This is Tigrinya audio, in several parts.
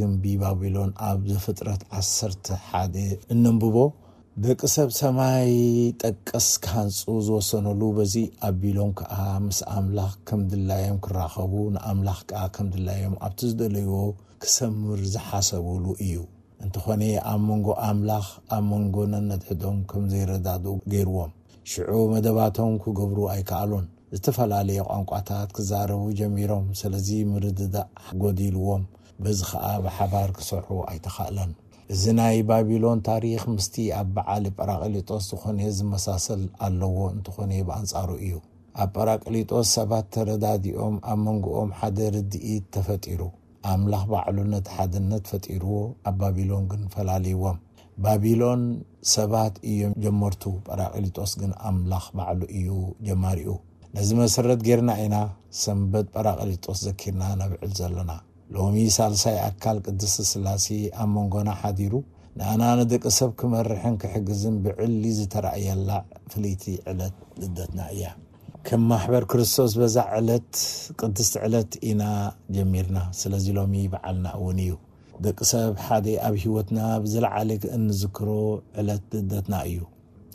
ግንቢ ባቢሎን ኣብ ዘፍጥረት ዓሰርተ ሓደ እነንብቦ። ደቂ ሰብ ሰማይ ጠቀስ ክሃንጹ ዝወሰነሉ፣ በዚ ኣቢሎም ከኣ ምስ ኣምላኽ ከም ድላዮም ክራኸቡ፣ ንኣምላኽ ከኣ ከም ድላዮም ኣብቲ ዝደለይዎ ክሰምር ዝሓሰቡሉ እዩ። እንተኾነ ኣብ መንጎ ኣምላኽ፣ ኣብ መንጎ ነንሕድሕዶም ከም ዘይረዳድኡ ገይርዎም። ሽዑ መደባቶም ክገብሩ ኣይከኣሉን። ዝተፈላለየ ቋንቋታት ክዛረቡ ጀሚሮም። ስለዚ ምርድዳእ ጎዲልዎም፣ በዚ ኸኣ ብሓባር ክሰርሑ ኣይተኻእለን። እዚ ናይ ባቢሎን ታሪኽ ምስቲ ኣብ በዓል ጳራቅሊጦስ ዝኾነ ዝመሳሰል ኣለዎ፣ እንተኾነ ብኣንጻሩ እዩ። ኣብ ጳራቅሊጦስ ሰባት ተረዳዲኦም፣ ኣብ መንጎኦም ሓደ ርድኢት ተፈጢሩ። ኣምላኽ ባዕሉ ነቲ ሓድነት ፈጢርዎ፣ ኣብ ባቢሎን ግን ፈላልይዎም። ባቢሎን ሰባት እዮም ጀመርቱ፣ ጳራቅሊጦስ ግን ኣምላኽ ባዕሉ እዩ ጀማሪኡ። ነዚ መሰረት ጌርና ኢና ሰንበት ጳራቅሊጦስ ዘኪርና ነብዕል ዘለና። ሎሚ ሳልሳይ ኣካል ቅድስቲ ስላሴ ኣብ መንጎና ሓዲሩ፣ ንኣና ንደቂ ሰብ ክመርሕን ክሕግዝን ብዕሊ ዝተራእየላ ፍልይቲ ዕለት ልደትና እያ። ከም ማሕበር ክርስቶስ በዛ ዕለት፣ ቅድስቲ ዕለት ኢና ጀሚርና። ስለዚ ሎሚ በዓልና እውን እዩ። ደቂ ሰብ ሓደ ኣብ ህይወትና ብዝለዓለ እንዝክሮ ዕለት ልደትና እዩ።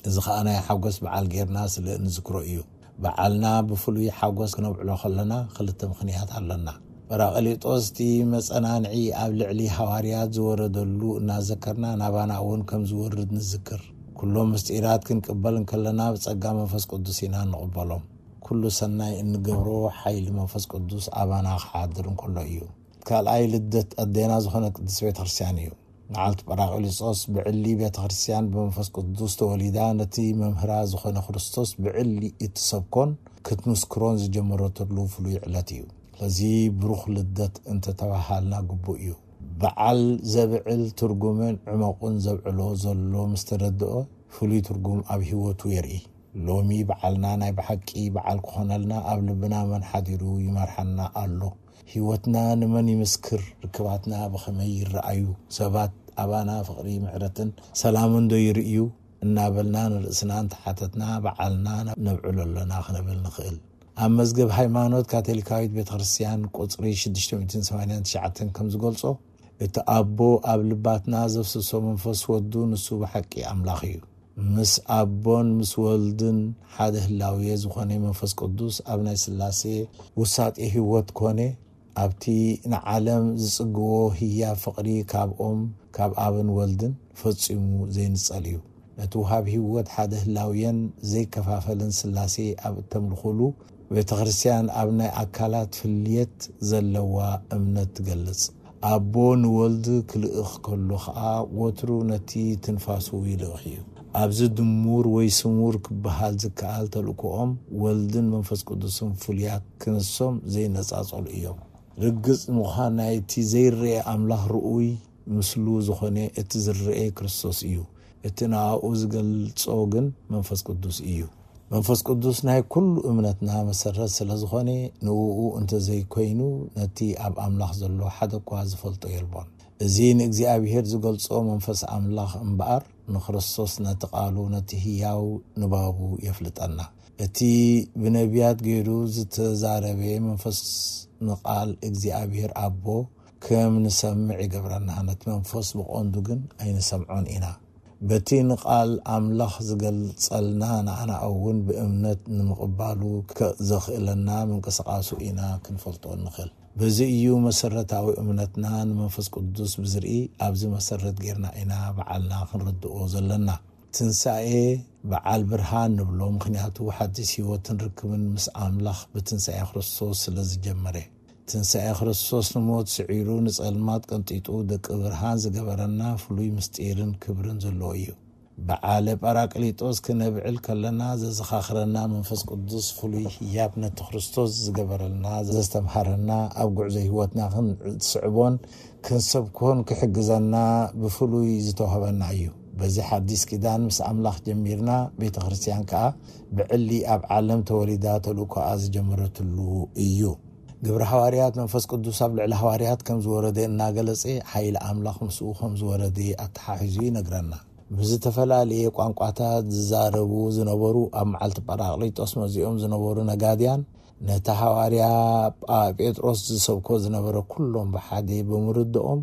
እዚ ኸኣ ናይ ሓጎስ በዓል ጌርና ስለ እንዝክሮ እዩ። በዓልና ብፍሉይ ሓጎስ ክነብዕሎ ከለና ክልተ ምኽንያት ኣለና። ጳራቅሊጦስ እቲ መጸናንዒ ኣብ ልዕሊ ሃዋርያት ዝወረደሉ እናዘከርና ናባና እውን ከም ዝወርድ ንዝክር። ኩሎም ምስጢራት ክንቅበል እንከለና ብጸጋ መንፈስ ቅዱስ ኢና እንቕበሎም። ኩሉ ሰናይ እንገብሮ ሓይሊ መንፈስ ቅዱስ ኣባና ክሓድር እንከሎ እዩ። ካልኣይ ልደት ኣዴና ዝኾነት ቅድስት ቤተ ክርስቲያን እዩ። መዓልቲ ጳራቅሊጦስ ብዕሊ ቤተ ክርስቲያን ብመንፈስ ቅዱስ ተወሊዳ ነቲ መምህራ ዝኾነ ክርስቶስ ብዕሊ እትሰብኮን ክትምስክሮን ዝጀመረትሉ ፍሉይ ዕለት እዩ። ስለዚ ብሩኽ ልደት እንተተባሃልና ግቡእ እዩ። በዓል ዘብዕል ትርጉምን ዕመቁን ዘብዕሎ ዘሎ ምስ ተረድኦ ፍሉይ ትርጉም ኣብ ህይወቱ የርኢ። ሎሚ በዓልና ናይ ብሓቂ በዓል ክኾነልና ኣብ ልብና መን ሓዲሩ ይመርሓና ኣሎ? ህይወትና ንመን ይምስክር? ርክባትና ብኸመይ ይረኣዩ? ሰባት ኣባና ፍቕሪ፣ ምሕረትን ሰላምን ዶ ይርእዩ? እናበልና ንርእስና እንተሓተትና በዓልና ነብዕሎ ኣለና ክንብል ንኽእል። ኣብ መዝገብ ሃይማኖት ካቶሊካዊት ቤተ ክርስቲያን ቁጽሪ ሽዱሽተ ሚእትን ሰማንያን ትሽዓተን ከም ዝገልጾ፣ እቲ ኣቦ ኣብ ልባትና ዘፍስሶ መንፈስ ወዱ ንሱ ብሓቂ ኣምላኽ እዩ። ምስ ኣቦን ምስ ወልድን ሓደ ህላዌ ዝኾነ መንፈስ ቅዱስ ኣብ ናይ ስላሴ ውሳጤ ህይወት ኮነ ኣብቲ ንዓለም ዝጽግዎ ህያብ ፍቕሪ ካብኦም ካብ ኣብን ወልድን ፈጺሙ ዘይንጸል እዩ። ነቲ ውሃብ ህይወት ሓደ ህላውየን ዘይከፋፈልን ስላሴ ኣብ እተምልኹሉ ቤተ ክርስቲያን ኣብ ናይ ኣካላት ፍልየት ዘለዋ እምነት ትገልጽ። ኣቦ ንወልድ ክልእኽ ከሎ ኸኣ ወትሩ ነቲ ትንፋሱ ይልእኽ እዩ። ኣብዚ ድሙር ወይ ስሙር ክበሃል ዝከኣል ተልእኮኦም ወልድን መንፈስ ቅዱስን ፍሉያት ክንሶም ዘይነጻጸሉ እዮም። ርግጽ ምዃን ናይቲ ዘይረአ ኣምላኽ ርኡይ ምስሉ ዝኾነ እቲ ዝረአ ክርስቶስ እዩ። እቲ ንኣኡ ዝገልጾ ግን መንፈስ ቅዱስ እዩ። መንፈስ ቅዱስ ናይ ኩሉ እምነትና መሰረት ስለ ዝኾነ ንእኡ እንተዘይኮይኑ ነቲ ኣብ ኣምላኽ ዘሎ ሓደ እኳ ዝፈልጦ የልቦን። እዚ ንእግዚኣብሔር ዝገልጾ መንፈስ ኣምላኽ እምበኣር ንክርስቶስ ነቲ ቃሉ ነቲ ህያው ንባቡ የፍልጠና። እቲ ብነቢያት ገይሩ ዝተዛረበ መንፈስ ንቃል እግዚኣብሔር ኣቦ ከም ንሰምዕ ይገብረና። ነቲ መንፈስ ብቐንዱ ግን ኣይንሰምዖን ኢና። በቲ ንቃል ኣምላኽ ዝገልጸልና ንኣና እውን ብእምነት ንምቕባሉ ከ-፣ ዘኽእለና ምንቅስቓሱ ኢና ክንፈልጦ እንኽእል። በዚ እዩ መሰረታዊ እምነትና ንመንፈስ ቅዱስ ብዝርኢ ኣብዚ መሰረት ጌርና ኢና በዓልና ክንርድኦ ዘለና። ትንሳኤ በዓል ብርሃን ንብሎ፣ ምኽንያቱ ሓድሽ ህይወትን ርክብን ምስ ኣምላኽ ብትንሳኤ ክርስቶስ ስለ ዝጀመረ። ትንሳኤ ክርስቶስ ንሞት ስዒሩ ንጸልማት ቀንጢጡ ደቂ ብርሃን ዝገበረና ፍሉይ ምስጢርን ክብርን ዘለዎ እዩ። በዓለ ጳራቅሊጦስ ክነብዕል ከለና ዘዘኻኽረና መንፈስ ቅዱስ ፍሉይ ህያብ ነቲ ክርስቶስ ዝገበረልና ዘስተምሃረና ኣብ ጉዕዞ ህይወትና ክንስዕቦን ክንሰብኮን ክሕግዘና ብፍሉይ ዝተዋህበና እዩ። በዚ ሓዲስ ኪዳን ምስ ኣምላኽ ጀሚርና ቤተ ክርስቲያን ከኣ ብዕሊ ኣብ ዓለም ተወሊዳ ተልእኮኣ ዝጀመረትሉ እዩ። ግብሪ ሃዋርያት መንፈስ ቅዱስ ኣብ ልዕሊ ሃዋርያት ከም ዝወረደ እናገለጸ ሓይሊ ኣምላኽ ምስኡ ከም ዝወረደ ኣተሓሒዙ ይነግረና። ብዝተፈላለየ ቋንቋታት ዝዛረቡ ዝነበሩ ኣብ መዓልቲ ጳራቅሊጦስ መዚኦም ዝነበሩ ነጋድያን ነቲ ሃዋርያ ጳ-፣ ጴጥሮስ ዝሰብኮ ዝነበረ ኩሎም ብሓደ ብምርድኦም